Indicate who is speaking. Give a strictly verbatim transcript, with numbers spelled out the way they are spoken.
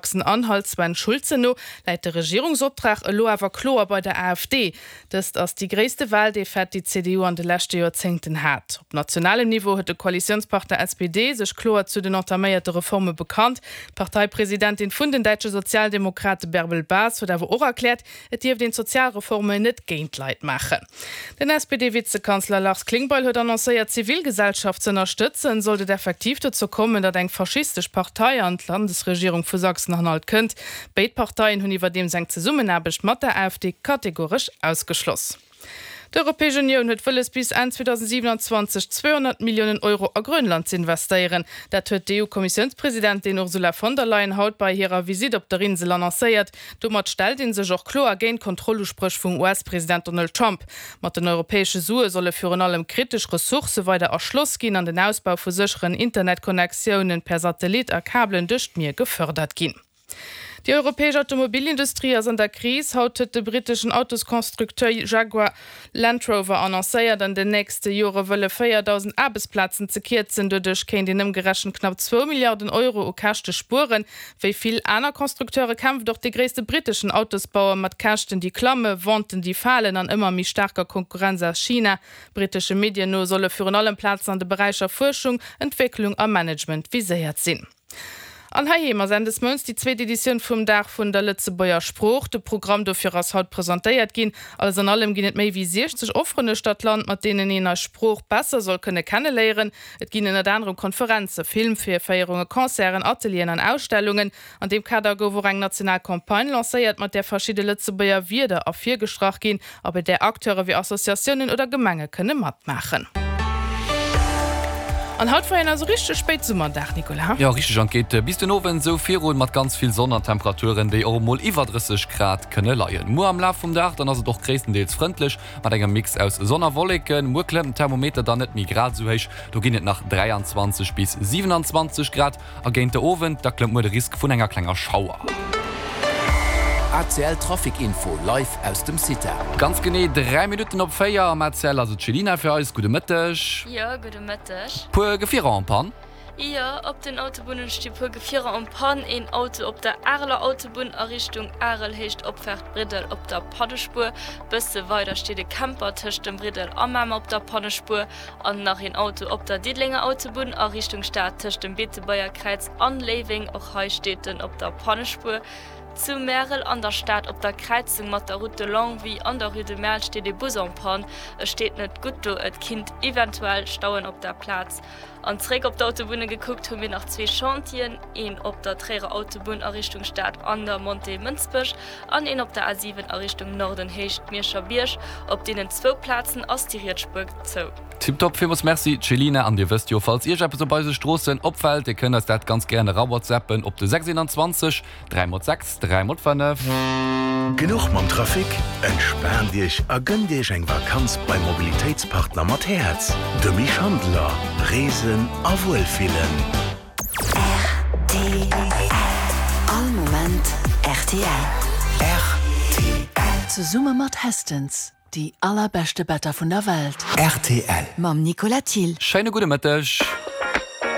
Speaker 1: Sachsen-Anhalt Sven Schulze no läit de Regierungsoptrag elo awer kloer bei der AfD. Dëst ass déi gréisste Waldefaite, déi d'CDU an de leschte Joerzéngten hat. Op nationalem Niveau huet de Koalitiounspartner SPD sech kloer zu den entaméierte Reforme bekannt. D'Parteipresidentin vun den däitsche Sozialdemokrate Bärbel Bas huet awer och erkläert, et dierft een d'Sozialreformen net géint d'Leit maachen. Den SPD-Vizekanzler Lars Klingbeil huet annoncéiert, d'Zivilgesellschaft z'ënnerstëtzen, sollt et effektiv dozou kommen, datt eng faschistesch Partei an d'Landesregierung vu Sachsen-Anhalt kënnt. Béid Parteien hunn iwwerdeems eng Zesummenaarbecht mat der AfD kategoresch ausgeschloss. D'Europäesch Unioun huet wëlles bis Enn zweedausendsiewenanzwanzeg zweehonnert Milliounen Euro a Grönland z'investéieren. Dat huet d'EU-Kommissiounspresidentin Ursula von der Leyen haut bei hirer Visitt op der Insel annoncéiert. Domat stellt ee sech och kloer géint d'Kontrolluspréch vum U S-President Donald Trump. Mat den europäesche Sue solle virun allem kritesch Ressourcë weider erschloss ginn an den Ausbau vu sécheren Internetconnectiounen per Satellit a Kabelen duerch d'Mier gefërdert ginn. Déi europäesch Automobilindustrie ass an der Kris. Haut huet de britteschen Autosconstructeur Jaguar Land Rover annoncéiert, an den nächste Jore wëlle véierdausend Aarbechtsplazen ze kierzen. Doduerch kéint een ëmgerechent knapp zwou Milliarden Euro u Käschte spueren. Wéi vill aner Constructeure kämpft och de gréisste britteschen Autosbauer mat Käschten, déi klammen, Venten, déi falen an ëmmer méi staarker Konkurrenz aus China. Brittesche Medien no solle virun allem Plazen an de Beräicher Fuerschung, Entwécklung a Management viséiert sinn. An heiheem ass Enn des Mounts déi zweet Editioun vum Dag vun der Lëtzebuerger Sprooch. De Programm dofir ass haut presentéiert ginn. Alles an allem ginn et méi wéi siechzeg Offeren uechter d'Land, mat deenen een eis Sprooch besser soll kënne kenneléieren. Et ginn ënnert anerem Konferenzen, Filmvirféierungen, Concerten, Atelieren an Ausstellungen. An deem Kader gouf och eng national Campagne lancéiert, mat där verschidde Lëtzebuerger Wierder ervirgestrach ginn a bei där Acteure wéi Associatiounen oder Gemenge kënne matmaachen. An haut war en also richteg spéit Summerdag, Nicolas.
Speaker 2: Jo, richteg, an et geet bis den Owend esou virun mat ganz vill Sonn an Temperaturen, déi och emol iwwer drësseg Grad kënne leien. Muer am Laf vum Dag dann ass et och gréisstendeels frëndlech mat engem Mix aus Sonn a Wolleken. Muer klëmmt den Thermometer dann net méi grad esou héich, do ginn et nach dräianzwanzeg bis siewenanzwanzeg Grad a géint de Owend da klëmmt muer de Risk vun enger klenger Schauer.
Speaker 3: A C L Trafic Info live aus dem CITA.
Speaker 2: Ganz genee dräi Minutten op véier am A C L ass et d'Chelina fir eis. Gudde Mëtteg.
Speaker 4: Jo, gudde Mëtteg.
Speaker 2: Puer Gefierer en panne?
Speaker 4: Jo, op den Autobunnen sti puer Gefierer en panne. Een Auto op der Areler Autobunn a Richtung Arel, Héicht Opfaart Briddel op der Pannespuer. Bësse weider steet e Camper tëscht dem Briddel a Mamer op der Pannespuer. An nach een Auto op der Diddelenger Autobunn a Richtung Stad tëscht dem Beetebuerger Kräiz an Léiweng. Och hei steet en op der Pannespuer. Zu Märel an der Stad op der Kräizung mat der Route de Longwy an der Rue de Merl steet ee Bus en panne. E steet net gutt do, et kinnt eventuell stauen op der Plaz. An zeréck op d'Autobunne gekuckt hu mir nach zwee Chantieren, een op der Tréierer Autobunn a Richtung Stad an der Montée Mënsbech an een op der A siwen a Richtung Norden Héicht Mierscher Bierg. Op deenen zwou Plazen ass déi riets Spuer zou.
Speaker 2: Tiptop, villmools Merci Céline, an dir wësst jo, falls iech eppes op eise Stroossen opfält, dir kënnt eis dat ganz gären era whatsappen op de sechs een dräi mol sechs dräi mol fënnef.
Speaker 5: Genuch mam Trafic? Entspaant Iech a gënnt Iech eng Vakanz beim Mobilitéitspartner mat Häerz, de Misch Handler. Reesen a Wuelfillen.
Speaker 6: R T L. All Moment R T L.
Speaker 5: R T L.
Speaker 7: Zesumme mat Hästens, déi allerbeschte Better vun der Welt.
Speaker 5: R T L.
Speaker 6: Mam Nicolas Thill.
Speaker 2: Schéine gudde Mëtteg.